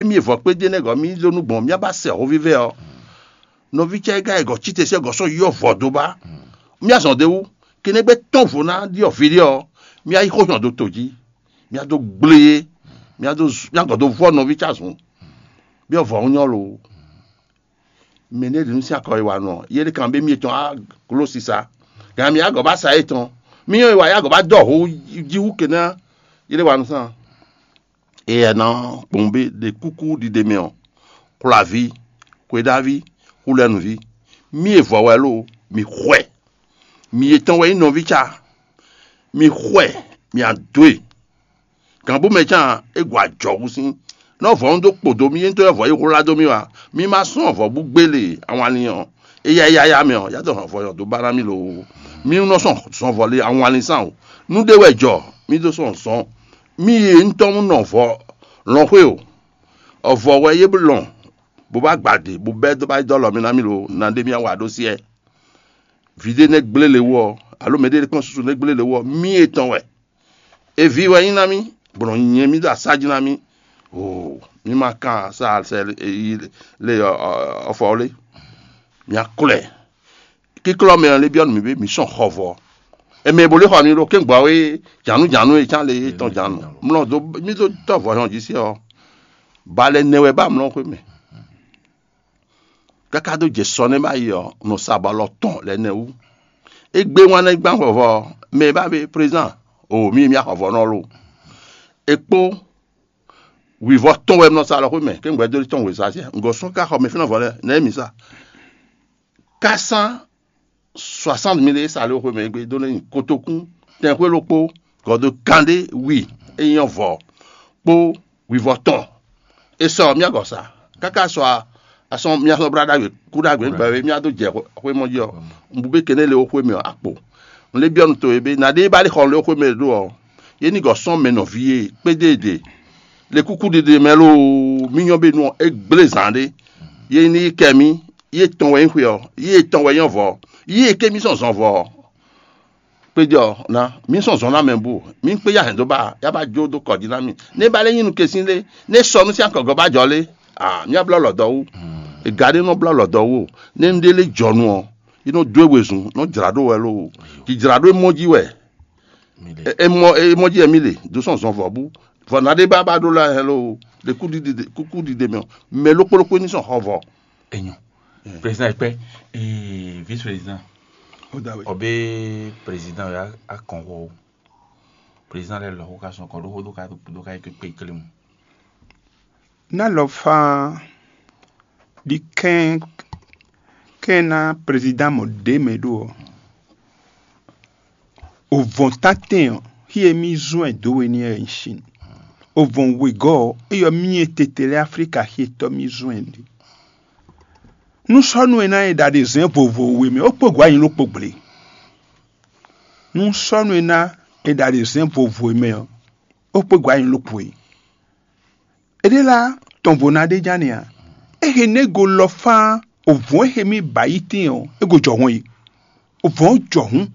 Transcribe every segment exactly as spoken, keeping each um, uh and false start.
Mì e vɔ̌ kpé dó énɛ́ gɔ́ mì ɖó nú gbɔn mì ba sɛ hɔvívɛ́ ɔ́, nɔví ce e gɔ̌ cíte sɛ́ gɔ̌ sɔ́ yɔ́ vɔ̌ dó ba. Mì azɔn ɖé wú, kénɛ́ gbé tɔ́n vo ná ɖi ɔ̌ ví ɖé ɔ́, mì yi xó nyɔ dó to jí, mì do gblé yé, mì do mì gɔ̌ dó vɔ́ nɔví ce azɔn, byɔ́ vɔ̌ nyɔ́ lo. Mɛ ɖé ɖě nú sín akɔ e wa nɔ yé ɖé kan bé mì tɔn á gló sisa, gǎn mì agɔ̌ ba sa yétɔn, mì nyɔ́ e wa yá gɔ̌ ba dɔ ho jí wú kénɛ́ yé ɖé wa nú sán. Éyɛ́ ná gbɔn bé ɖe kúkú ɖiɖe mɛ ɔ́, xwlaví, xweɖaví, xulɛnúví, mì e vɔ̌ wɛ lo, mì xwɛ, mì yětɔn wɛ nyí nɔví ca, mì xwɛ, mì adó e. Gǎnbú mɛ can é gwa ajɔ̌ hú sín, nɔ́ vɔ̌ un dó kpo dó mì, é ntɔ́ wɛ vɔ̌ yi hwlá dó mì wá. Mì ma sɔ́ vɔ̌ bú gbélé awalin ɔ́, éyá yáyá mɛ ɔ́, yá dó hɔn vɔ̌ nyɔ dó ba ná mì lo. Mì nɔ sɔ́ zɔn vɔ̌ lé awalin sán o. Nú ɖé wɛ jɔ, mì dó sɔ́ zɔn. Mì yi ntɔ́ nɔ vɔ̌ lɔn xwé o. Ɔvɔ wɛ yé lɔn, bó bá gbadě, bó bɛ́ dó bá yi dó alɔ mì ná mì lo, ná ɖé mì wa ɖó syɛ́. Vǐ ɖé nɛ́ gblé le wú ɔ́, alo mɛ ɖé kpɔ́n susu nɛ́ gblé le wú ɔ́, mì etɔn wɛ. Eví wɛ nyí ná mì, bɔ nɔ nyɛ mì ɖo asá jí ná mì. Oo, mì ma kan sa sɛ yi le ɔfɔ lé. Mì aklɛ. Kíklɔ́ mɛ ɔ́ lé byɔ́ nú mì bé mǐ sɔn xɔ vɔ. È mɛ bo lé xɔ mi ɖo kɛ́ngbɔ́ é jǎnú jǎnú e cán lé é tɔn jǎnú. Mlɔ dó mì dó tɔ́ vɔ̌ hɔn jí sí ɔ́, ba lɛ nɛ wɛ ba mlɔ xwé mɛ. Káká dó jɛ sɔ nɛ́ ba yi ɔ́, nɔ sa bɔ alɔ tɔn lɛ nɛ wú. É gbé wán nɛ́ gbán vɔvɔ ɔ́, mɛ e ba bé prézán o mì mì axɔ vɔ̌ nɔ lo. É kpó wǐvɔ́ tɔn wɛ nɔ sa alɔ xwé mɛ, kɛ́ngbɔ́ dó tɔn wězá siɛ. Ngɔ̌ sɔ́ ká xɔ mɛ fínɛ́ vɔ lɛ nɛ́ mǐ sa. Kásán soixante mille e sa lé xwe mɛ gbe dó lɛ́ nyi kotokún tɛnxwé ɖokpó gɔ̌do kanɖé wi e nyí vɔ̌ kpó wivɔ́ tɔn. E sɔ mía gɔ̌ sa káká sɔ asɔ́ mía sɔ́ blá ɖagbe kú ɖagbe gbɛ e mía dó jɛ xwémɔ jí ɔ́, un bu bé kɛnɛ́ lé xwé mɛ ɔ́ akpo. Un lé byɔ́ nú to e bé ná ɖé ba lé xɔ lé xwé mɛ ɖó ɔ́, yé ní gɔ̌ sɔ́ mɛ nɔví e kpédédé le kúkú ɖiɖe mɛ lóo, mì nyɔ́ bé nú ɔ́, é gblé zǎn ɖé. Yé ní yi kɛ mì, yé tɔn wɛ nyí xwe ɔ́, yé tɔn wɛ nyí ɔ́ vɔ̌, yé ké mì sɔn zɔn vɔ̌ ɔ́. Kpéjɔ ná mì sɔn zɔn ná mɛ bú, mì kpé ya hɛn dó ba, ya ba jó dó kɔ jí ná mì. Né ba lɛ́ nyí nukesín lé, né sɔ nú sín akɔgɔ́ ba jɔ lé, a mì blɔ́ lɔ̌ dɔ wú. È gǎ ɖé nɔ blɔ́ lɔ̌ dɔ wú o. Né un ɖé lé jɔ nu ɔ́, é nɔ dó e wezun, nɔ jlǎ ɖó wɛ lóo. Jǐjlǎ ɖó e mɔ jí wɛ. E mɔ e mɔ jí wɛ mì le, dó sɔn zɔn vɔ̌ bú. Vɔ ná ɖé ba ba ɖó la hɛn lóo, ɖe kúkú ɖiɖe mɛ ɔ́, mɛ lókpó lókpó ní sɔn xɔ vɔ. Enyɔ. Président ɛkpɛ. Ee, vice président. Ɔbɛ président ya akɔnxɔ o. Président lɛ lɔ xó ka sɔn kɔ ɖó xó dó ka dó ka yi kpé klému. Ná lɔ fá ɖi kɛn kɛn ná président mɔ ɖě mɛ ɖó ɔ́. Ovɔn tantɛn ɔ́, xí e mì zɔn ɛ dó we ní ɛ nyi sin. Ovɔn wegɔ́ ɔ́, é yɔ mì e tete lɛ́ɛ Aflíka xí e tɔ́ mì zɔn ɛ ɖe. Nú sɔ́nú e ná e ɖa ɖe zɛ̌n vovo we mɛ, ó kpó gɔ̌ anyi ló kpo gblě. Nú sɔ́nú e ná e ɖa ɖe zɛ̌n vovo e mɛ ɔ́, ó kpó gɔ̌ anyi ló kpo e. Éɖée lá tɔn vo ná ɖe ján nɛ́ ǎ. É he nɛ́ go lɔ fán ovɔ̌n e he mì ba yi tíin ɔ́, é go jɔ hɔn yi. Ovɔ̌n jɔ hǔn,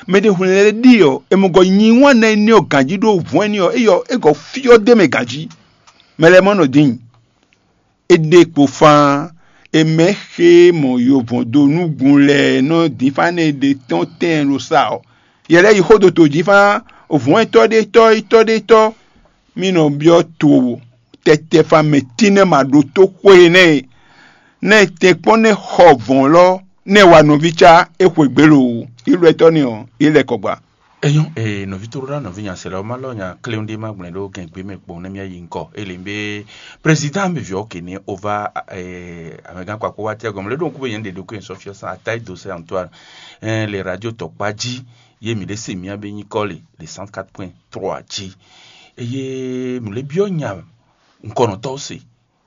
mɛ ɖé hwlɛ́n lɛ́ ɖi ɔ́, è mɔ gɔ nyi wán nɛ énɛ́ ɔ́ ganjí ɖó ovɔ̌n énɛ́ ɔ́, é yɔ é gɔ fyɔ́ d'é mɛ ganjí. Mɛ lɛ́ɛ mɔ nɔ dín. É ɖe kpo fán, è mɛ xe mɔ yovɔn dó núgun lɛ́ɛ nɔ dín fán nɛ ɖe tɔn tɛn ɖo sa ɔ́. Yɛ lɛ́ɛ yi xó dó to jí fán ovɔ̌n etɔ́ ɖé tɔ́ etɔ́ ɖé tɔ́. Mì nɔ byɔ́ to tɛtɛfan mɛ tínɛ́ ma ɖótó xwe nɛ́ e nɛ́ tɛ́nkpɔ́n nɛ́ xɔ vɔ̌n lɔ nɛ́ wa nɔví cá é xwegbe lo ilwɛtɔ́ nɛ́ ɔ́, é lɛ́ kɔ gba. Enyɔ ee nɔvi to ɖo ɖa nɔvi nya sɛlɛ ɔma lɔ nya kleun ɖe ma gblɛ ɖo gɛn gbe mɛ kpɔn ne mia yi ŋkɔ ele be président be viɔ ke ne ova ee amɛgan kpakpo wa tɛ gɔmɔ le ɖo ŋku be yɛn ɖe ɖo ko sɔfiɔ san atayi do se antoine ɛn le radio tɔkpa ji ye mi ɖe se mia be nyikɔ le le cent quatre point trois ji eye mi le biɔ nya ŋkɔnɔtɔwo se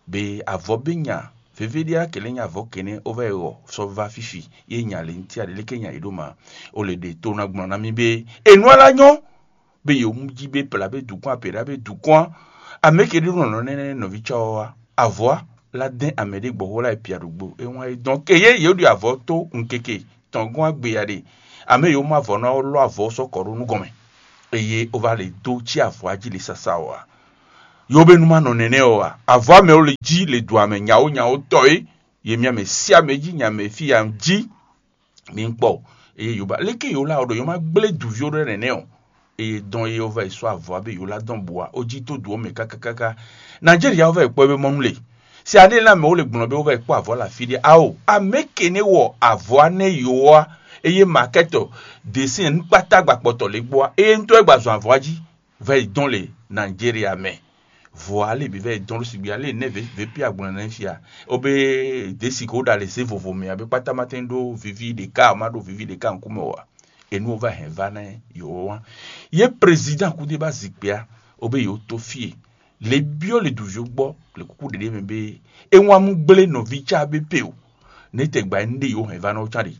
be avɔ be nya veve ɖia kele nya avɔ kene ova ewɔ sɔ va fifi ye nya le ŋti aɖe leke nya yi ɖo ma o le ɖe to na gblɔ na mi be enu ala nyɔ be yewu ji be pla be dukɔn apɛɖa be dukɔn amɛ ke ɖe nɔ nɔ nɛnɛ nɔvi tsɔ wa avɔ la dɛn amɛ ɖe gbɔxɔ la epia ɖogbo ewan e dɔn ke ye yewu ɖi avɔ to nkeke tɔn gɔn agbeya ɖe amɛ yewu ma avɔ na lɔ avɔ sɔ kɔ ɖo nu gɔmɛ eye ova le do tsi avɔ aji le sasa wa Yobenu ma nɔ nɛnɛ ɔ́ a? Avɔ amɛ ó le jí le do amɛ nyawo nyawo tɔ é, ye mia mɛ sí amɛ jí nya mɛ fí ya jí mi kpɔ. Eye yoba leke yo la ɔɖɔ yo ma gblé duvi ɖɔ nɛnɛ ɔ. Eye dɔn ye ɔva yi sɔ avɔ abe yo la dɔn bua o jí tó du ɔmɛ kákákáká. Nigeria ɔva yi kpɔ ebe mɔnu le. Si aɖe la mɛ wo le gblɔn be ɔva yi kpɔ avɔ la fi ɖe ao amɛ kene wɔ avɔ anɛ yo wa. Eye makɛtɔ desin nukpata gba kpɔtɔ le gbɔ wa eye ŋutɔ gba zɔn avɔ jí. Vɛ yi dɔn le Nigeria mɛ. Vɔ ale bǐ vɛ yi dɔn ɖo sigbe ale nɛ vě pí agblɔn nɛ fia. Obe desi ko ɖa le zé vovo mɛ abe kpata ma tɛn ɖo vivi ɖeka ma ɖo vivi ɖeka ŋkume o a. Enu ova hɛn va nɛ yo wa. Ye président kude ba zikpia obe yo to fie. Le biɔ le duvi gbɔ le kuku ɖeɖe mɛ be e wan mu gblé nɔvi ca be pe o. Ne tɛ gba nu ɖe yo hɛn va nɔ can ɖe.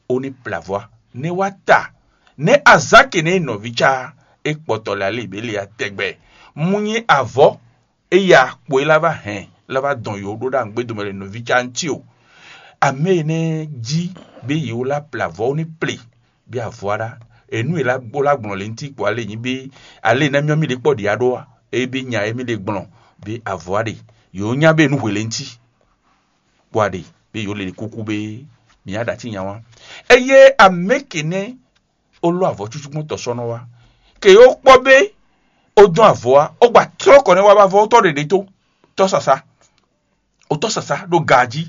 Ó ní plavɔa ne wá ta ne azǎn ke nɛ nɔví cá é kpɔtɔ lɛ alé bě le atɛgbɛ. Mu nyi avɔ é ya kpo é lá vá hɛn lá vá dɔn yǒ ɖó ɖo agbédomɛ le nɔví cá ŋuti o. Amɛ énɛ́ jí bé yě wó lá plavɔ ó ní ple bí avɔ á ɖá. Enu e lá gbó lá gblɔn le ŋuti kpo alé nyi bé alé ná myɔ mì ɖe kpɔ ɖi aɖó a é bé nya é mì ɖe gblɔn bé avɔ á ɖe. Yǒ nya bé nú hwe le ŋuti kpo aɖe bé yǒ le kúkú bé mǐ á ɖa cí nya wá. Eye amɛ ke nɛ́ ó lɔ́ avɔ cúcú gbɔn tɔ sɔ́ nɔ wá. Ke yǒ kpɔ́ bé ó dɔn avɔ wá ó gba tlɔ́ kɔ nɛ́ wá bá vɔ ó tɔ́ ɖeɖe tó tɔ́ sasa ó tɔ́ sasa ɖó ga jí.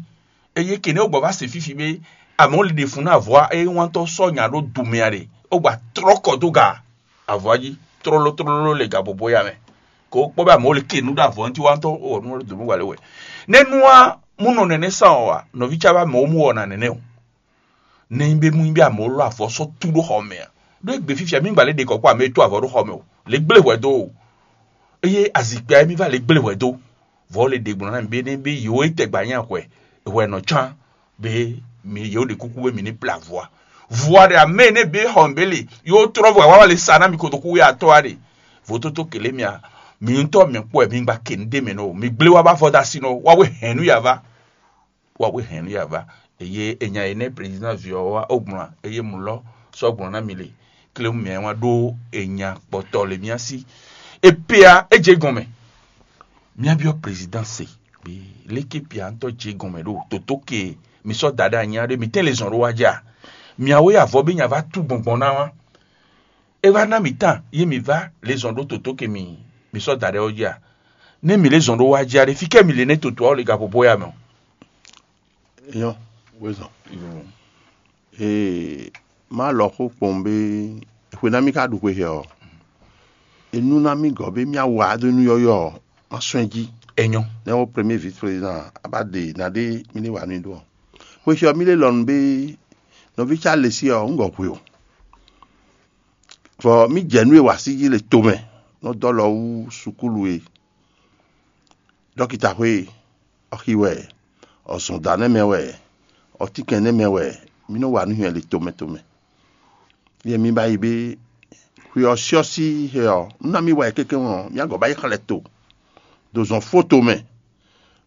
Eye ke nɛ́ ó gbɔ vá se fífi bé amɔ̌ li ɖe fun ná avɔ wá eye wántɔ́ sɔ́ nya ɖó dumɛ a ɖe ó gba tlɔ́ kɔ dó ga avɔ wá jí tlóló tlóló le ga bɔbɔ ya mɛ. Ko kpɔ́ bɛ amɔ̌ le ke nǔ ɖo avɔ ŋuti wántɔ́ ó wɔ nú dǒ nú wale wɛ. Nɛ́ nú wá mú nɔ nɛnɛ sán ɔ́ wa nɔví cá bɛ amɔ̌ mú wɔ na nɛnɛ o. Nɛ́ nyí bé mú nyí bé amɔ̌ lɔ avɔ sɔ́ tú ɖó xɔ mɛ a? Ɖó égbé fífia mí gbǎ lě ɖe kɔ̌ kpó amɛ e tú avɔ ɖó xɔ mɛ o. Lě gblé hwɛ dó o. Eye azikpia émí va lě gblé hwɛ dó. Vɔ̌ le ɖe gblɔ̌ ná mì bé nɛ́ bé yǒ é tɛgbɛ anyá hwɛ hwɛ nɔ cán bé mi yǒ ɖe kúkú bé mi ní ple avɔ a. Vɔ̌ ɖe amɛ énɛ́ bé xɔ mɛ bé le yǒ tlɔ́ vɔ awáwa le sa ná mi kotoku wé atɔ́ a ɖe. Vǒtótó kělé mia mi ŋutɔ mɛ kpɔ́ wɛ mi gba ke nu ɖé mɛ nɔ o. Mi gblé wá bá vɔ dó asi nɔ wá wé hɛn nú ya vá. Wa wé hɛn nú ya vá. Eye enya énɛ́ président ví ɔ́ wá ó gbɔn eye mǔ lɔ sɔ́ gbɔn ná mi le. Klémú mǐ wá ɖó enya kpɔtɔ le mía sí. E pea é jɛ gɔn mɛ. Mía byɔ́ président se. Léké pia ŋutɔ jɛ gɔn mɛ ɖo tòtó ke mi sɔ́ da ɖe anya ɖé mi tɛ́n le zɔn ɖó wá jɛ a? Mia wé avɔ bí nya vá tú gbɔngbɔn ná wá. É wá ná mǐ tan yé mǐ vá lě zɔn ɖó tòtó ke mǐ mǐ sɔ́ da ɖɛ ɔ́ jí a? Nɛ́ mǐ lě zɔn ɖó wá jí a ɖe fí kɛ́ mǐ lě nɛ́ toto ɔ́ le ga xo bó ya mɛ ɔ́? Nyɔ wezɔn. Ee, má lɔ xó kpɔn bé xwe ná mì ka ɖu xwe hɛ ɔ́. Enú ná mì gɔ́ bé mì awa dó nú yɔ́yɔ́ ɔ́, má sɔ́ ɛ jí. Enyɔ. Nɛ́ wɔ premier vice président a bá ɖe ná ɖé mì ní wa nú i ɖó ɔ́. Xwe xyɔ mì lé lɔnu bé nɔví cá le sí ɔ́, un gɔ́ xwe o. Vɔ mì jɛ nú e wa sí jí le tomɛ nɔ dɔ́ lɔ wú sukúlu e dɔkita xwe ɔxi wɛ, ɔzɔndanɛ mɛ wɛ, ɔtínkɛnnɛ mɛ wɛ, mì nɔ wa nú nyɛ le tomɛ tomɛ. Yɛ mi ba yi bé xwe ɔ́ syɔ́sí he ɔ́, nú ná mi wa yi kékéwɔn ɔ́, mì agɔ̌ ba yi xlɛ́ to do zɔn foto mɛ,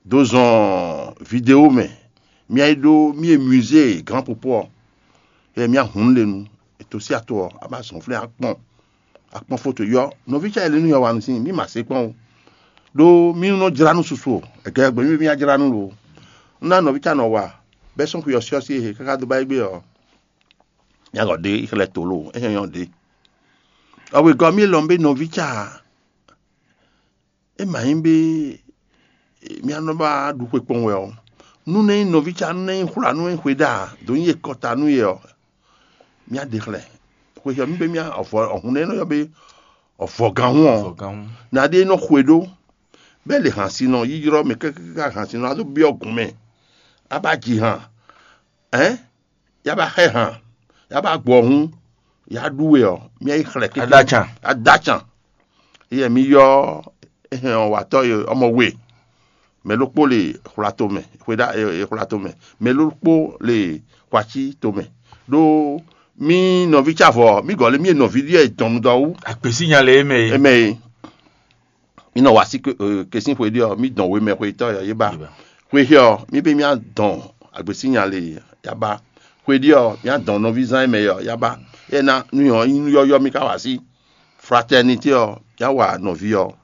do zɔn video mɛ, mì yi ɖó mì e musée grand popo ɔ́, yɛ mì ahun le nu, ètò sí ato ɔ́, a ba zɔn flɛ́ akpɔn akpɔn foto yɔ nɔví ca yɛ le nú yɔ wa nu sín mì ma se kpɔn o. Ɖó mì nɔ jlá nú susu o, ègɛ gbɛ mì mì jlá nú lo. Un ná nɔví ca nɔ wa bɛ́ sɔ́n xwe ɔ́ syɔ́sí e he káká dó ba yi gbé ɔ́, mì agɔ ɖe xlɛ́ to lo, é nyɔ́ nyɔ́ ɖe. Ɔwegɔ́ mì lɔn bé nɔví ca é ma nyí bé mía nɔ ba ɖu xwe kpɔn wɛ ɔ́, nú nɛ nyí nɔví ca nú nɛ nyí xwla nú é xwe ɖa dǒ nyi e kɔta nú yɛ ɔ́, mía ɖe xlɛ́. Xwe xyɔ mì bé mía ɔvɔ ɔhun nɛ nɔ yɔ bé ɔvɔgánhún ɔ́, Vɔgán. Na ɖé nɔ xwe ɖó bɛ́ lě hǎnsinɔ yi ylɔ́ mɛ káká hǎnsinɔ a dó byɔ́ gǔn mɛ, a ba ji hǎn, ɛ̌, ya ba xɛ hǎn, ya ba gbɔ hǔn, ya ɖú we ɔ́, mía yi xlɛ́ kéké. Aɖacan. Aɖacan. Yɛ mi yɔ ehɛn ɔ́ watɔ e ɔmɔ we. Mɛ ɖokpó le xwla tomɛ, xweda e xwla tomɛ. Mɛ ɖokpó le xwaci tomɛ. Ɖó mi nɔví ca vɔ, mi gɔ́ lé mi e nɔví ɖíe dɔn nu dɔ wú. Agběsínya le émɛ e. Émɛ e. Mi nɔ wa sí ke- eh, kesín xwe ɖé ɔ́, mi dɔn wemɛ xwetɔ́ yɔ yé ba. Yé ba. Xwe xyɔ ɔ́, mi bé mi adɔn agbesínya le ya ba. Xwe ɖé ɔ́, mi adɔn nɔví zán mɛ yɔ ya ba. Yɛ na nu ɔ́, nú yɔ́yɔ́ mi ka wa sí. Fraternité ɔ́, ya wa nɔví ɔ́.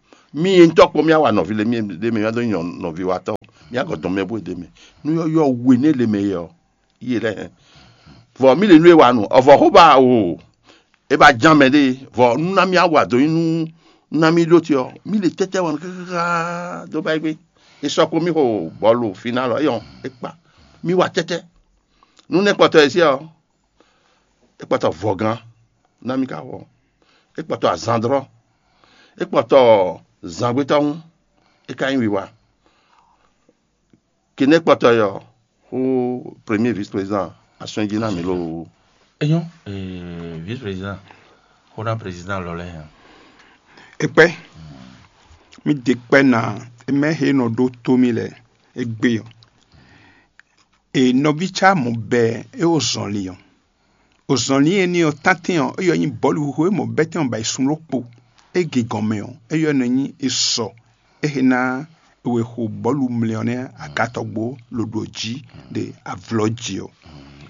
Mì e ŋutɔ́ kpó mì wa nɔví lě mì ɖ'é mɛ, mì dó nyɔ nɔví wa tɔn, mì agɔ̌ dɔn mɛ bó ɖ'é mɛ. Nú yɔ́yɔ́ we nɛ lě mɛ é ɔ́, yi lɛ́ɛ hɛn. Vɔ mì lě nú e wa nu, ɔvɔ xó ba o, é ba ján mɛ ɖée, vɔ nú ná mì awa dó nyi nú ná mì ɖó te ɔ́, mì lě tɛ́tɛ́ wa nú káká dó ba yi gbé. É sɔ́ kpó mì xo bɔlu fínálɔ é ɔ́, é kpa. Mì wa tɛ́tɛ́. Nú nɛ́ kpɔtɔ e sí ɔ́, é kpɔtɔ vɔgán ná mì ka wɔ. É kpɔtɔ azandrɔ́. É kpɔtɔ zangbétɔ́hún. É ka nyí wiwa. Kinɛ́kpɔtɔ yɔ xú premier vice-président asɔ́njí ná mǐ loo. É nyɔ́, ee, vice-président xó ná président lɔ lɛ́ɛ hɛn. Ekpɛ́, mì ɖe kpɛ́ ná, emɛ he nɔ ɖó tó mì lɛ égbé ɔ́. E nɔví cá mɔ bɛɛ é wo zɔnlin ɔ́. O zɔnlin énɛ́ ɔ́, tántɛn ɔ́, é yɔ nyí bɔ̌luxixo e mɔ bɛ́tɛn ɔ́ ba yi sun ɖokpó. É gǐgɔn mɛ ɔ́, é yɔ nɔ nyí e sɔ. É he ná e wɛ xo bɔ̌lu mlɛ ɔ́ nɛ́ agatɔgbó loɖo jí ɖe avlɔ jí ɔ́.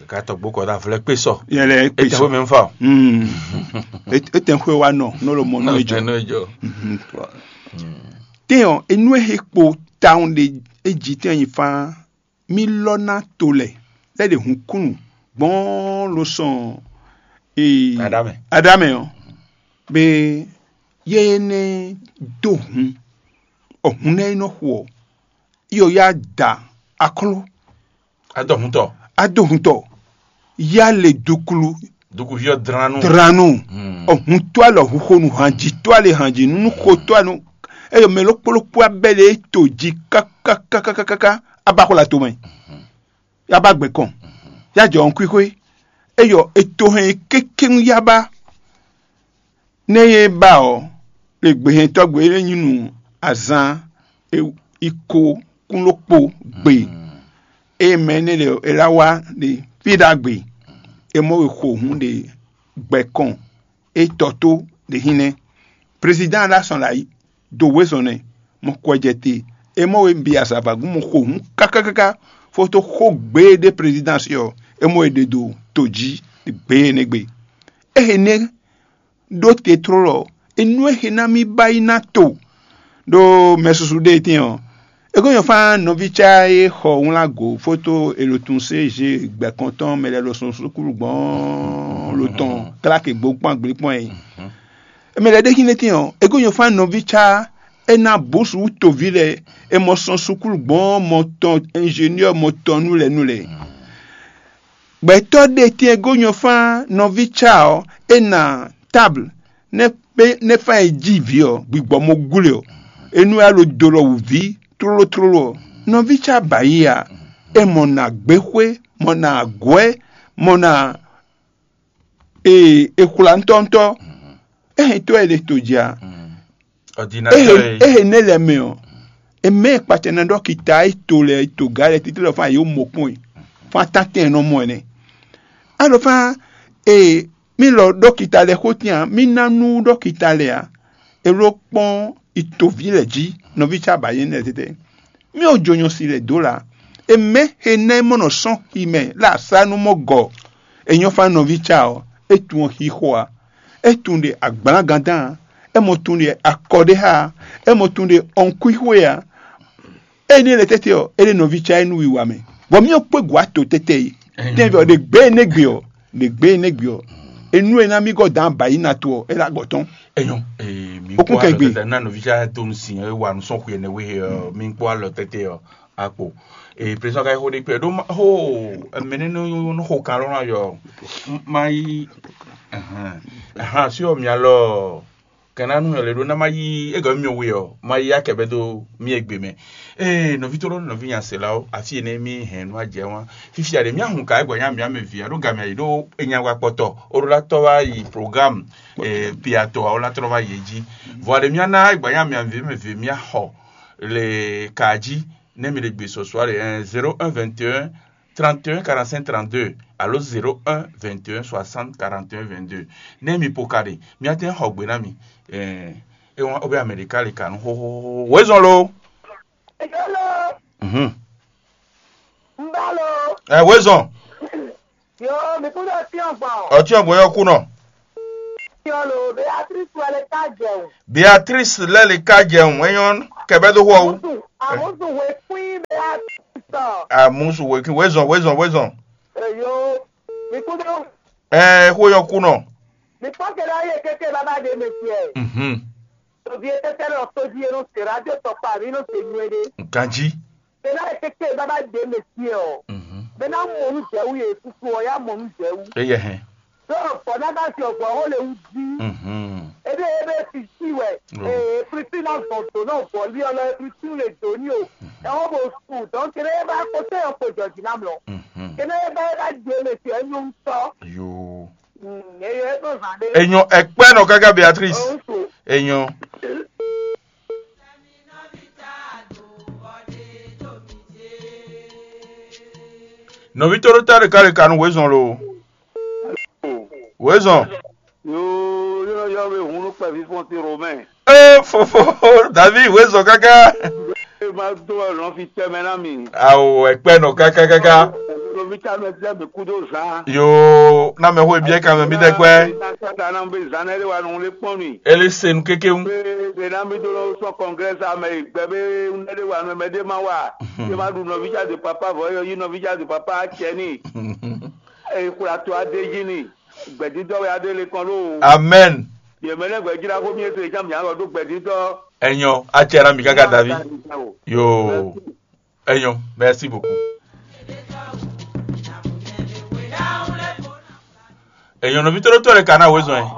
Agatɔgbó kɔ ɖo avlɔ kpé sɔ. Yɛ lɛ kpé sɔ. Etɛxwé mɛ ń fa o. Mm. Etɛxwé wa nɔ nɔ lo mɔ nɔ ejɔ. Nɔ ejɔ. Tɛn ɔ́, enú e he kpo tawun ɖe, e jí tɛn nyi fán. Mì lɔ ná to lɛ lɛ́ ɖe hun kúnnu gbɔn ló sɔn ee Aɖamɛ. Aɖamɛ ɔ́, be yɛ énɛ́ dó hun, ɔhun nɛ́ é nɔ xo ɔ́, yɔ ya da akló Adɔhuntɔ. Adóhuntɔ, ya le duklu Dukuvi ɔ́ dlán nú. Dlanu. Ɔhun tó alɔ huxonu hanji tó ale hanji nunu xo tó anu. Eyɔ mɛ lɔkpɔlɔkpɔ abɛ ɖe to ji kákákákáká aba xɔ la to mɛ. Yaba gbɛ kɔn. Ya jɔ ɔn kwixwe. Eyɔ eto hɛn kékéŋ yaba. Nɛ́ e ba ɔ́, le gbehɛntɔ́ gbe é nyí nú azán e yi ko kún ɖokpó gbe. Eye mɛ énɛ́ lɛ́ɛ è lá wá ɖe fí ɖagbe, è mɔ we xo hǔn ɖe gbɛ kɔn é tɔ tó ɖe hínlɛ́. Prezidán ɖo asɔn lǎyi do wezɔn nɛ, mɔ kɔ jɛ te, è mɔ we bi azǎvagun mɔ xo hǔn kákákáká, fó tó xó gbe e ɖe prezidán sí ɔ́, è mɔ we ɖe do to jí gbe énɛ́ gbe. Éhe nɛ́ ɖó te tlólɔ, enú e xe ná mì ba yi ná to ɖó mɛsusu ɖé tɛ́n ɔ́. É ko nyɔ́ fán nɔví cá e xɔ wlán go fótó e ɖo tun sé G gbɛkɔntɔn mɛ lɛ́ɛ ɖo sɔn sukúlu gbɔn lo tɔn kláke gbó kpɔ́n agblí kpɔ́n é. Mɛ lɛ́ɛ ɖé xínɛ́ tɛ́n ɔ́, é ko nyɔ́ fán nɔví cá e ná bǔsu toví lɛ́ɛ e mɔ sɔn sukúlu gbɔn mɔ tɔn ingénieur mɔ tɔn nú lɛ́ɛ nú lɛ́ɛ. Gbɛtɔ́ ɖé tɛ́n e gó nyɔ́ fán nɔví cá ɔ́, é ná tábl nɛ́ fán e jí vǐ ɔ́, gbigbɔ mo gúle ɔ́, é nú é wá ɖo do lɔ wǔ ví tlóló tlóló ɔ́, nɔví cá ba yí a? É mɔ nǎ gbéxwé, mɔ nǎ agwɛ́, mɔ nǎ ee, è xwlá ŋutɔ́ŋutɔ́. É hɛn tó e ɖe to jí a? Ordinateur. Ehe nɛ lɛ mɛ ɔ, e mɛ kpatɛ na ɖɔ kita e to lɛ to ga lɛ titri lɔ fún ayi wo mɔ kpɔn yi fún atantɛn nɔ mɔ ɛnɛ. Alɔ fún ee mi lɔ ɖɔ kita lɛ xó tian mi na nu ɖɔ kita lɛ a? E lɔ kpɔn itovi lɛ jí nɔvi ca ba yɛn lɛ tɛtɛ. Mi ò jo nyɔ si lɛ dó la. E mɛ he nɛ mɔ nɔ sɔn xi mɛ la sa nu mɔ gɔ. E nyɔ fa nɔvi ca ɔ, e tun ɔ xixo a? E tun ɖe agblagandán a? E mɔ tun ɖe akɔɖéxa a? E mɔ tun ɖe ɔnkuixwe a? Ée ní e le tɛ́tɛ́ ɔ́, é ɖe nɔví cá é nú wiwa mɛ, bɔ mì ɔ́ kpé gǔ ato tɛ́tɛ́ é. Tɛ́nvɛ ɔ́, ɖe gbě énɛ́ gbe ɔ́, ɖe gbě énɛ́ gbe ɔ́, é nú e ná mì gɔ́ dǎn bǎ yi na to ɔ́, é ná gbɔ tɔ́n. Enyɔ, ee, mi Okun kpó kɛ alɔ gbe. Tɛtɛ na nɔvi cá donu sin e wa nu sɔn xwe ne we ɔ, mi kpó alɔ tɛtɛ ɔ, akpo. Ee, président ka xo ɖe kpɛ ɖo ma xo, mɛnɛ no no xo kan lɔ na yɔ. Ma yi. Ahan, ahan, si ɔ mi alɔ. Kana nu yɔ le ɖo na ma yi egɔ mi we ɔ, ma yi akɛ bɛ do mi egbe mɛ. Ee, nɔvi to lɔ nɔvi nya se la o, afi ene mi hɛn nu ajɛ wa. Fifia ɖe mía hun ka egbɔ nya mía mɛ via ɖo gamɛ yi ɖo enya wa kpɔtɔ. O ɖo la tɔ wa yi programme eh, piatɔ awo la trɔ va yi edzi. Vɔ ɖe mía na egbɔ nya mía mɛ ve mɛ ve mía xɔ le ka dzi ne mi le gbe sɔsɔ ɖe eh, zéro un vingt et un trente et un quarante-cinq trente-deux alo zéro un vingt et un soixante quarante et un vingt-deux. Ne mi po ka ɖe mía tɛ xɔ gbe na mi. Eh, e wọn o bɛ Amerika le ka nu xoxoxo. Wezɔn lo. Hello. Mhm. Mbalo. Eh, wezɔn. Yo, mi kúndé ọtí ọgbọ̀n. Ọtí ọgbọ̀n yọ kú nọ. Yo lo, Beatrice Beatrice lɛ le ká jɛun. Beatrice lɛ le ká jɛun. Enyɔ kɛbɛ do xɔ wu. Amusu, amusu wekun bɛ atɔ. Amusu wekun wezɔn wezɔn wezɔn. Eyo, mi kú dó. Ɛ xo yɔ kunɔ. Mi kpɔ kɛ ɖe ayi keke baba de mɛ tiɛ. Mhm. Tobi e tete lɔ tobi e no se radio tɔkpa mi no se nyuɛ de. Ganji. Bena e keke baba de mɛ tiɛ ɔ. Mhm. Bena mɔ nu jɛ wu ye susu ɔ ya mɔ nu jɛ wu. Eyɛ hɛn. Ɖó vɔ̌ ná ɖo asi ɔgbɔ̌ xó le wú jí. Mhm. Ebe ebe fi si wɛ. Oh. Ee, Kristi ná zɔn dǒ nɔ vɔ̌lí ɔ́ lɔ, Kristi le dǒ ní o. Ɛhɔn bo su, donc kene e ba ko tɛ yɔ ko jɔ jí ná mlɔ. Mhm. Kene e ba e ba je le fi ɛnyɔ ŋutɔ. Yo. Mm, eye e to zan de. Enyo ekpɛ nɔ kaka Beatrice. Oh, so. Enyo. Nɔvi toro ta ɖeka ɖeka nu wezɔn lo. Wezɔn. Yo, yo, yo, be hun nú kpɛví fɔ́n ti Romɛ. Ee, fofo, David, wezɔn kaka. E ma do wɛ lɔn fi tɛmɛ na mi. Awo, ekpɛ nɔ kaka kaka. Lomi ta mɛ tɛ mi kudo zan. Yo, na mɛ xo biɛ kan mɛ mi dɛ gbɛ. Na sa ta na be zan ne de wa nu le kpɔn mi. Ele se nu keke ŋu. Be de na mi do lo sɔ congrès a mɛ gbɛ be ne de wa nu mɛ de ma wa. Ye ma du nɔvi ja de papa vɔ yo yi nɔvi ja de papa cɛ ni. E kula to a de ji ni. Gbɛdidɔ wɛ a de le kɔn lo. Amen. Ye mɛ ne gbɛjira ko mi ese jam ya lɔ do gbɛdidɔ. Enyo, a cɛ na mi kaka David. Yo. Enyo, merci beaucoup. Enyo, no vitoro tore kana wezɔn.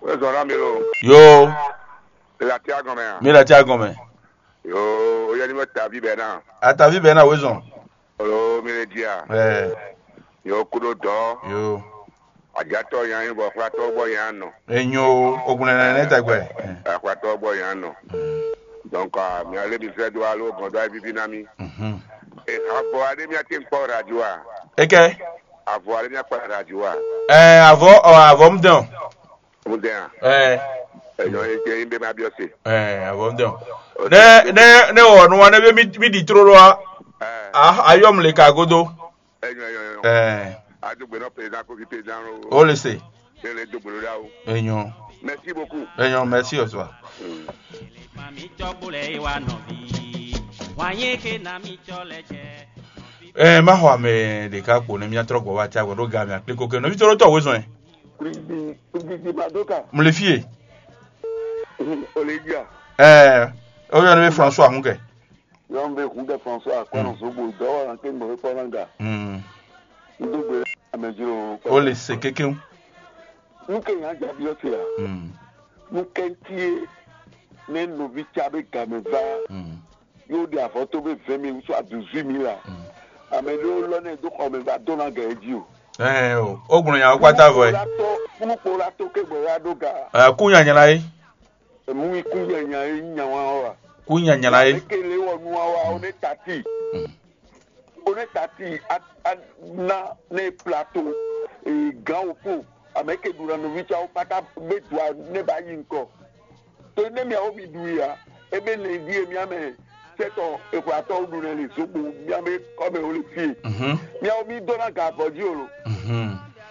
Wezɔn na mi lo. Yo. La ti agɔmɛ. Mi la ti agɔmɛ. Yo, o yɛ ni mo tavi bɛ na. A tavi bɛ na wezɔn. Olo mi le dia. Eh. Yo kudo dɔ. Yo. Ajatɔ yan yin bɔ xlatɔ bɔ yan nɔ. Enyo ogun nɛnɛ ne tɛgbɛ. Xlatɔ bɔ yan nɔ. Donc, ah, mi ale mi fɛ do alo gɔn do ayi vivi na mi. Mhm. E avɔ ale mi ati kpɔ radio a. Eke. Avɔ ale mi akpɔ radio a. Eh, avɔ, ɔ, avɔ mu dɔn. Mu dɛn a. Eh. Enyo e jɛ yin be ma biɔ se. Eh, avɔ mu dɔn. Ne ne ne wɔ nu wa ne be mi mi di trolo a. Eh. Ah, ayɔ mu le ka godo. Enyo, enyo, enyo. Eh. A dugbe nɔ président ko vi président lo. O le se. Ne le dugbe lo da o. Enyo. Merci beaucoup. Enyo, merci aussi. Ɛ, ma xɔ ame ɖeka kpo ne mía trɔ gbɔ wá tia gbɔ ɖo ga mɛ akpliko ke nɔvi tɔɖo tɔ wezɔn ɛ. Mle fie. Olivia. Ɛ, oyɔ ne be François hun kɛ. Yɔn be hun kɛ François akɔnɔ zogbo dɔwɔ na ke gbɔ kpɔ na ga. Mm. Ndo gbe ame jiro. O le se kekeŋ. Nuke nya jabi ɔte a. Mm. Nukɛntie ne novi tsa be game va. Mm. Yóò ɖe avɔ tó be vingt mille soit dix-huit mille a. Ame ɖewo lɔ nɛ dó xɔ mɛ va dó ná gɛ jí o. Ɛ o, o gbɔn nya kpata vɔ ɛ. Kúnukpo la tó ké gbɔ ya ɖó ga. Ɛ kú nyanya la yé. Emu ikú nyanya yé nya wa wa. Kú nyanya la yé. Eke le wɔ nu wa wa o ne tati. O ne tati a a na ne plato. Gan o ko. Ame ke ɖu na novi tsa wo kpata be dua ne ba yi ŋkɔ. To ne miawo mi ɖu ya, ebe le ɖi e mia mɛ sɛtɔ exwlatɔwo ɖu nɛ le zogbo mia be kɔmɛ wo le fie. Miawo mi dó na ga avɔ jí o lo.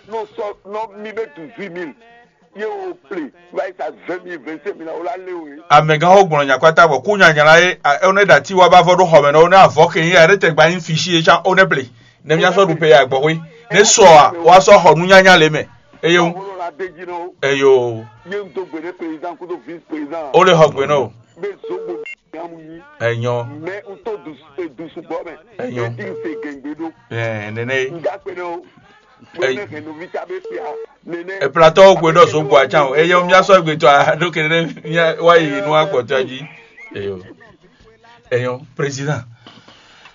No sɔ nɔ mi be du vi mil ye wo ple va yi sa vingt mille vingt cinq mille o la le o ye. Amɛgãxó gblɔ nyakpata bɔ kú nyanyala ye one ɖati wa ba vɔ ɖo xɔmɛ nɔ one avɔ ke yi ya ɖe tɛgba nyi fisi ye can one ple ne mia sɔ ɖu pe ya gbɔxwe ne sɔ a wa sɔ xɔ nunyanya le mɛ. Eye wo. Eyo. Ye n do gbe ne président kudo vice président. O le xɔ gbe nɔ o. Be zogbo nyamu yi. Enyɔ. Mɛ n to du du sugbɔ mɛ. Enyɔ. Edi n se gɛngbe do. Ɛɛ nene. N ga kpe ne o. Bɔ ne hɛn novi ta be fia. Nene. Eplatɔwo gbe ɖɔ zogbo atsan o. Eye mia sɔ gbe tɔ a ɖo kene ne mia wa yi nu akpɔtɔ ji. Eyo. Enyɔ président.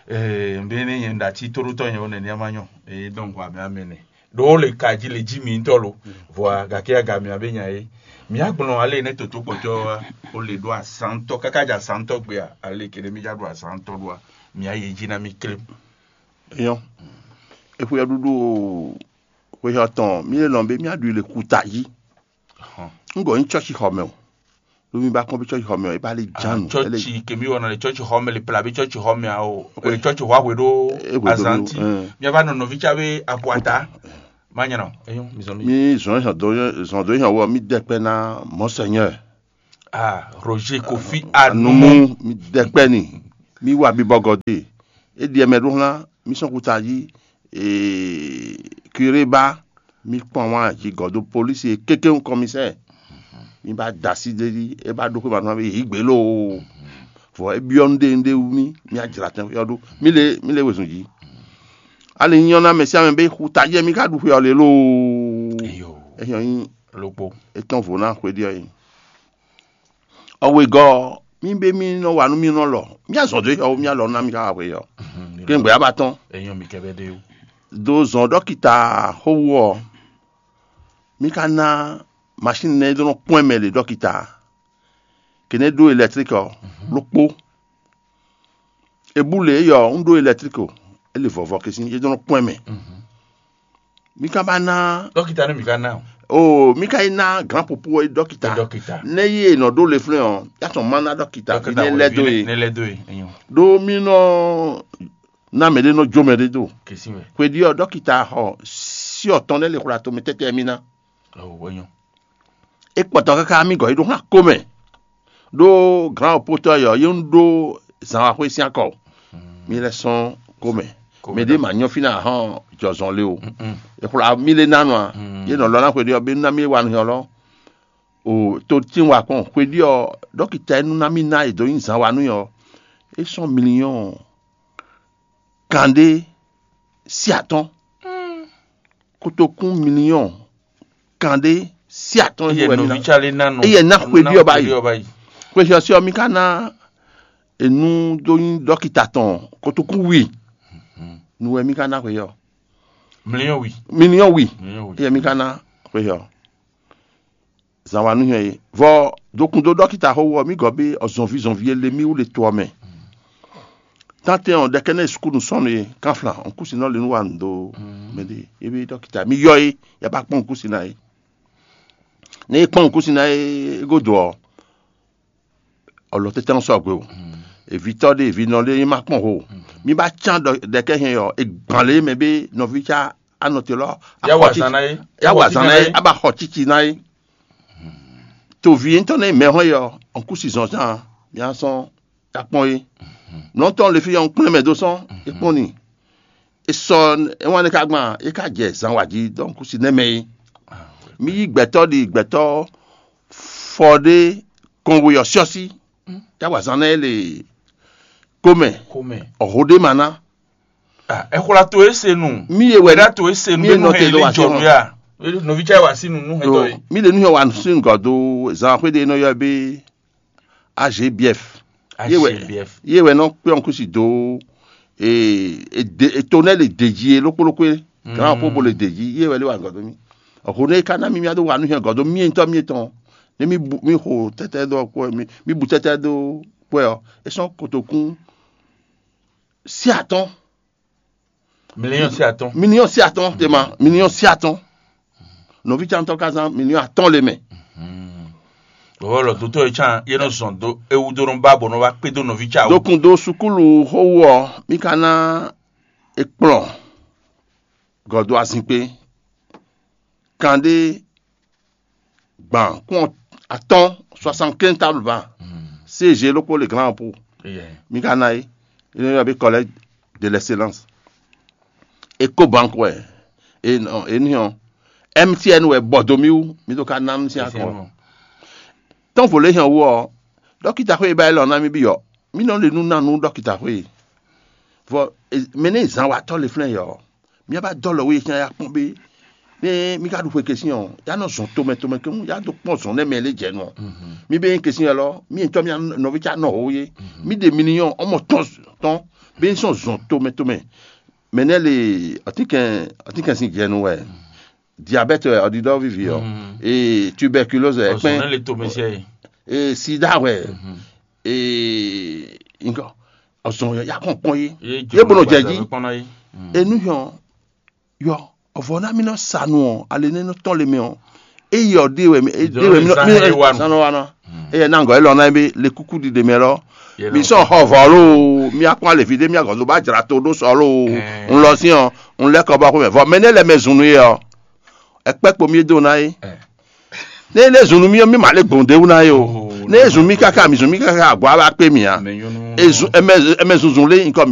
Ɛɛ n bɛ ne nyɛ n da ti torotɔ nyɛ o nene ama nyɔ. Eye donc wa mɛ amɛ ne. Ɖo le ka jí le jí mi ŋutɔ lo. Vɔa gake aga mia be nya é. Mia gblɔn ale ne toto kpɔtɔ wa o le ɖo asantɔ kaka dza asantɔ gbea ale kele mi dza ɖo asantɔ ɖoa mia yi dzi na mi klem. Eyɔn. Exweyɔɖuɖu xweyɔtɔn mi le lɔn be mia ɖu le kuta yi. Ŋgɔ nyi tsɔtsi xɔ mɛ o. Lómi bá kɔn bí tsɔtsi xɔ mɛ o, e bá lé dzánu. Tsɔtsi kemi wɔna le tsɔtsi xɔ mɛ le pla bí tsɔtsi xɔ mɛ o. E tsɔtsi xɔ ahwe ɖo azanti. Mia va nɔ nɔvi tsa be abuata. Má nyɔ́ nɔ. Eyɔn, mi zɔn mi. Mi zɔn zɔn dó zɔn dó yàn wɔ mi dɛkpɛ ná mɔsɛnyɛ. Ah, Roger Kofi Anumu. Anumu. Mi dɛkpɛ ni. Mi wa bibɔ gɔdé. E diɛ mɛ ɖó hlan mi sɔn kuta jí. Ee, curé ba mi kpɔn wá jí gɔdó polisi e kékéŋ kɔmisɛ. Mi ba dasi dé jí e ba ɖó xwé ma nɔ be yi gbé loo. Vɔ e byɔ́ nu ɖe nu ɖe wú mi mi ajra tɛn yɔ ɖó mi le mi le wezun jí. Ali nyɔ na mɛ sia mɛ be xu ta jɛ mi ka ɖu xwe ɔ le loo. Eyo. Ehyɔ nyi Lopo. Etɔn vo na xwe ɖi ɔ yi. Ɔwe gɔ mi be mi nɔ wa nu mi nɔ lɔ mi azɔn do yɔ mi alɔ na mi ka wa xwe yɔ. Kengbe aba tɔn. Eyɔn mi kɛ bɛ de o. Do zɔn dɔkita xo wu ɔ mi ka na machine nɛ do nɔ kpɔn mɛ le dɔkita. Kene do électrique ɔ ló kpó. Ebú le eyɔ ń ɖó électrique o. Ele vɔvɔ kesin e dɔn kpɔn mɛ. Mi ka ba na Dókítà ní mi ka ná o. O mi ka yi na grand popo e dɔkita. Dókítà. Ne yi e nɔ ɖó le flɛ ɔ ya tɔn ma na dɔkita bi ne lɛ do ye. Ne lɛ do ye. Eyɔn. Ɖo mi nɔ na mɛ ɖe nɔ jo mɛ ɖe do. Kesi wɛ. Xwe ɖi ɔ dɔkita xɔ si ɔtɔn ne le xwla to mi tɛtɛ mi na. Awo eyɔn. E kpɔtɔ kaka mi gɔ yi ɖo hã ko mɛ. Ɖó grand opotɔ yɔ yi ń ɖó zǎnwaxwé sín akɔ. Mi lɛ sɔn ko mɛ. Mɛ ɖé ma nyɔ fínà hɔn jɔzɔn lé o. Exwla mi lé nánu a. Yé nɔ lɔ ná xwe ɖi ɔ bí ná mi wa nu yɔ lɔ. O to tí wa kpɔn xwe ɖi ɔ dɔkita enu ná mi ná e dó nyi zǎn wa nú yɔ. E sɔn miliɔn kanɖé sí atɔ́n. Kotokún miliɔn kanɖé sí atɔ́n Eyɛ wɛ mi ná. Nɔvi Tsale ná nɔ. Eyɛ ná xwe ɖi ɔba yi. Xwe ɖi ɔba yi. Xwe xyɔsí ɔ mi ka ná enu dó nyi dɔkita tɔn kotokún wi. Nu wɛ mi ka ná xwe yɔ. Miliɔn wi. Miliɔn wi. Miliɔn wi. Eyɛ mi ka ná xwe yɔ. Zan wa nu hɛn yi. Vɔ dokun dó dɔkita xo wɔ mi gɔ bí ɔzɔnvi zɔnvi ele mi wú le to ɔ mɛ. Tantɛ ɔ ɖɛkɛ ne sukulu sɔnnu ye kanflan ɔnkusi nɔ le nu wa nu do. Mɛ de ebi dɔkita mi yɔ ye ya ba kpɔn ɔnkusi na ye. Ne e kpɔn ɔnkusi na ye godo ɔ ɔlɔ tɛtɛ sɔ gbe o. Evi tɔ de evi nɔ de ye ma kpɔn ho. Mi ba can ɖɛkɛ hɛn yɔ egban le mɛ be nɔvi ca anɔ te lɔ. Ya wa zan na ye. Ya wa zan na ye aba xɔ titi na ye. Tovi ŋutɔ ne mɛ hɔn yɔ ɔnkusi zɔn zan mi asɔn ya kpɔn ye. Nɔtɔn le fi yɔ ŋkplɛn mɛ do sɔn e kpɔn ni. E sɔ e wan ne ka gban e ka jɛ zan wa ji dɔn kusi ne mɛ ye. Mi yi gbɛtɔ di gbɛtɔ fɔ ɖe kɔnwe yɔ siɔsi ya wa zan na ye le komɛ Kome. Ɔho ɖe ma na. Ah, exwla to ese nu. Mi ye wɛ Wɛda to ese nu. Mi ye Benu nɔ te hɛn do ile wa jɔ sɔn. Ya. Nɔvi Tsale wa sinu nu hɛtɔ ye. Mi le nu yɔ wa sin gɔ do zan xwe de nɔ yɔ be A G B F. Ye wɛ A G B F. Ye wɛ nɔ kpé ɔnkusi do e e de e to ne le deji e lokpo lokpo e. Gran po bo le deji ye wɛ le wa gɔ do mi. Ɔho ne ka na mi mi ado wa nu hɛn gɔ do mi ntɔ mi tɔn. Ne mi bu mi xo tɛtɛ do kpɔ mi mi bu tɛtɛ do kpɔ ɔ. E sɔn kotokun si atɔn. Miliɔn si atɔn. Miliɔn si atɔn te ma miliɔn si atɔn. Nɔvi cantɔ ka zan miliɔn atɔn le mɛ. Bɔbɔ lɔ dotɔ ye can ye nɔ zɔn do ewu do nɔ ba bɔ nɔ ba kpe do nɔvi ca o. Dokun do sukulu xowu ɔ mi ka na ekplɔn gɔdo azinkpe kan ɖe gban kún atɔn soixante quinze table ba. C G lokpo le grand po. Eyɛ. Mi ka na ye. Il y a be collègue de l'excellence. Ecobank wɛ. E nɔ e ni hɔn. M T N wɛ bɔ do mi wu mi do ka na mi si akɔ. Tɔn vo le hɛn wu ɔ dɔkita xwe ba yi lɔ na mi bi yɔ mi nɔ le nu na nu dɔkita xwe. Vɔ mɛ ne zan wa tɔ le flɛ yɔ mi ba dɔ lɔ wo ye tiɲɛ ya kpɔn be ne mi ka ɖu xwe kesi ɔ ya nɔ zɔn tomɛ tomɛ kemu ya do kpɔn zɔn ne mɛ le jɛ nɔ. Mi be kesi yɛ lɔ mi ntɔ mi nɔvi ca nɔ ho ye. Mi de mi ni yɔ ɔmɔ tɔn tɔn be sɔn zɔn tomɛ tomɛ. Mɛ ne le ɔtikɛn ɔtikɛn sin jɛ nu wɛ. Diabète wɛ ɔdidɔ vivi ɔ. Ee tuberculose wɛ Ɔsɔn ne kpɛn. le to mɛsɛ ye. Ee sida wɛ. Ee nkɔ ɔsɔn yɛ ya kɔn kpɔn ye. Ye bɔnɔ jɛ ji. Kpɔn na ye. Enu yɔ yɔ ɔvɔ na mi nɔ sanu ɔ ale ne nɔ tɔn le mɛ ɔ. Eye ɔ de wɛ mi de wɛ mi Zan he wa nɔ nu. sanu wa nɔ. Eye na ngɔ elɔ na ye be le kuku di de mɛ lɔ. Mi sɔn xɔ vɔ lo mi akpɔn alevi de mi agɔzo ba dzra to ɖo sɔ lo. N lɔ si ɔ n lɛ kɔ bɔ xo mɛ vɔ mɛ ne lɛ mɛ zun nu ye ɔ. Ɛ kpɛ́ kpo mì e dó ná é. Né é lé zun nú mì ɔ́, mì ma lé gbɔn ɖ'é wú ná é o. Né é zun mì káká, mì zun mì káká, agwá wá kpé mì ǎ. Ezun ɛmɛ ɛmɛ zunzun lé nyikɔ mì